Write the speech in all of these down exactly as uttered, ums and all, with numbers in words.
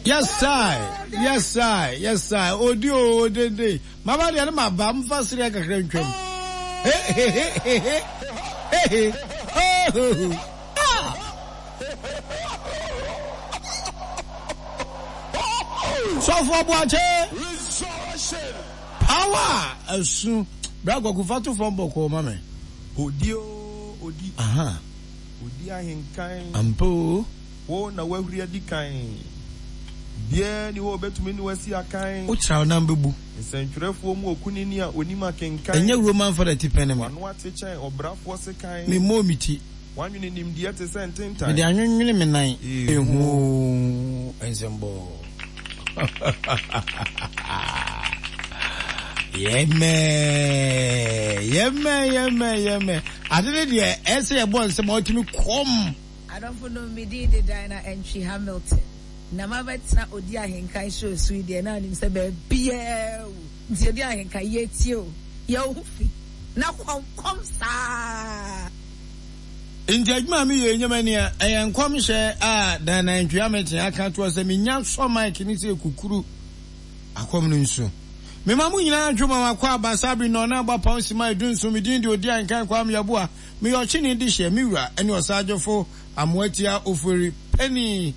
Yes I, yes I, yes I. Odi o odende. Maba deɛ ne maba mfa sereɛ kakra ntwam. He he he he he he he ho ho ho. Ah! Sɔfo Aboakye. Power asu. Bra Kwaku fa to fam bɔkɔɔ ma me. Odi o odi. Aha. Odi ahenkan. Ampa o. Wo na woahuri adi kan. Obiara nni hɔ a obetumi ne wo asi akan. Wo kyerɛw nam bɛbu. Nsɛntwerɛfoɔ mu okunini a onim akenkan. Ɛnyɛ Roman fada tipɛn ne me. W'ano ate kyɛn ɔbrafoɔ sekan. Memmɔɔ me ti. W'anwene nimdeɛ te sɛ ntentan. Mede anwenwene me nan. Ehu oo, nsɛmbɔɔ. Yɛmɛ, yɛmɛ, yɛmɛ, yɛmɛ. Ade ne deɛ ɛsɛ yɛbɔ nsɛm a ɔtumi kɔm. Adɔfo nom, me din de Diana Antwi Hamilton, na mabɛtena Odi Ahenkan show so yi deɛ na nim sɛ baabiaa wu nti Odi Ahenkan yɛtie o, yɛ wo ho fi na kɔm kɔm saa. Nti adwuma a meyɛ yi nyɛ m'ani a, ɛyɛ nkɔmhyɛ a Diana Antwi Hamilton aka ato hɔ sɛ menya sɔ mic no sɛ kukuru akɔm no nsu. Mema mo nyinaa adwo ma makɔ aba saa bere nnɔn abɔ apɔn sima edu nson. Me din de Odi Ahenkan Kwame Yeboah. Meyɛ ɔkyene dehyeɛ, me wura ne ɔsagyefo Amoatia Ofori Panin.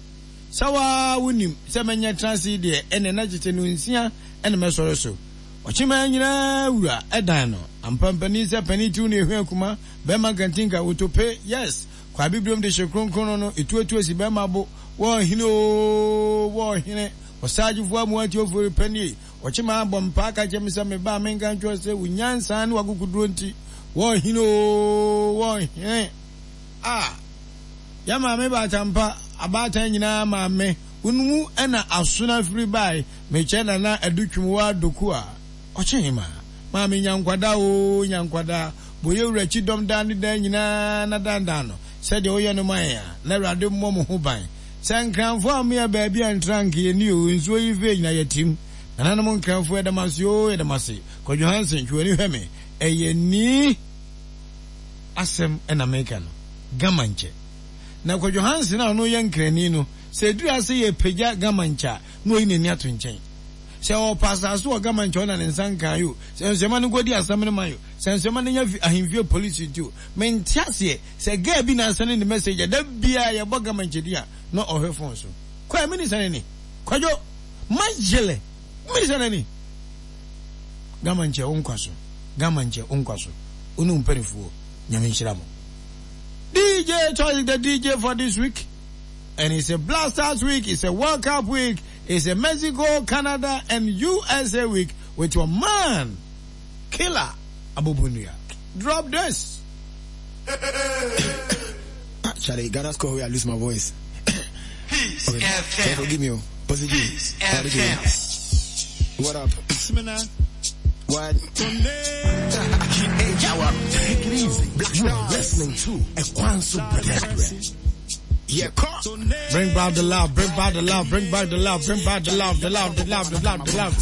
Sɛ wo ara wonim sɛ mɛnyɛ tena ase yi deɛ, ɛnneɛ na kyekye no nsia na mɛsɔre so. Ɔkyeman nyinaa wura dan no. Ampa mpanin sɛ panin tiw ne ehwɛ akuma, bɛrima nkantinka, wotope, yes, kwa abibirem de hye kronkron no no, etuatua si bɛrima bo, wɔ ɔhene oo, wɔ ɔhene, ɔsagyefo Amoatia Ofori Panin. Ɔkyeman bɔ mpaa ka kyerɛ me sɛ me ba a menka nkyerɛ wo sɛ wo nyansa ne w'akokoduro nti, wɔ ɔhene oo, wɔ ɔhene. A, yɛn maame baatampa, abaatan nyinaa maame, wo no mu na asono afiri bae, mekyɛ Nana Adu Twumwaa Doku a, ɔkyehemaa. Maame nya nkwadaa oo, nya nkwadaa, bɔ yɛn wura kyidɔm daa ne daa nyinaa na dandan no sɛdeɛ woyɛ no ma yɛn a, na Awurade mmɔ mo ho ban. Sɛ Nkranfoɔ ammea baabi antra anka yɛnni oo, nsuo yi fee nyina yɛtim. Nananom Nkranfoɔ yɛda mo ase oo, yɛda mo ase. Kwadwo Hansen, twe w'ani hwɛ me, ɛyɛ ni asɛm na meka no, Gama nkyɛ. Na Kwadwo Hansen a ɔno yɛ Nkrani no, sɛ ɛduru ase yɛpagya Gama nkyɛ a, na wayi n'ani ato nkyɛn. Sɛ ɔɔpɛ asase wɔ Gama nkyɛ ɔna ne nsa nkae o, sɛ nsuama no nkɔdi asɛm no man o, sɛ nsuama no nya fi ahemfie polisi nti o, mente aseɛ sɛ girl bi na asɛne ne message a da biara yɛbɔ Gama nkyɛ din a na ɔhwɛ phone so. Kwae mini sɛne ni? Kwadwo, mayele, mini sɛne ni? Gama nkyɛ wo nkwa so, Gama nkyɛ wo nkwa so, wo ne wo mpanifoɔ, Nyame nhyira mo. D J Choice the D J for this week. And it's a Blasters week, it's a World Cup week, it's a Mexico, Canada, and U S A week with your man, Killer Abobunua. Drop this. Charlie, Ghana score where I lose my voice. Peace Okay. F M. So forgive me, oh. Positive. Peace F M. What up? What? Hey, take it easy. You are listening to Ekwanso Bread. Yeah, call. Bring back the love, bring back the love, bring back the love, bring back the love, the love, the love, the love, the love.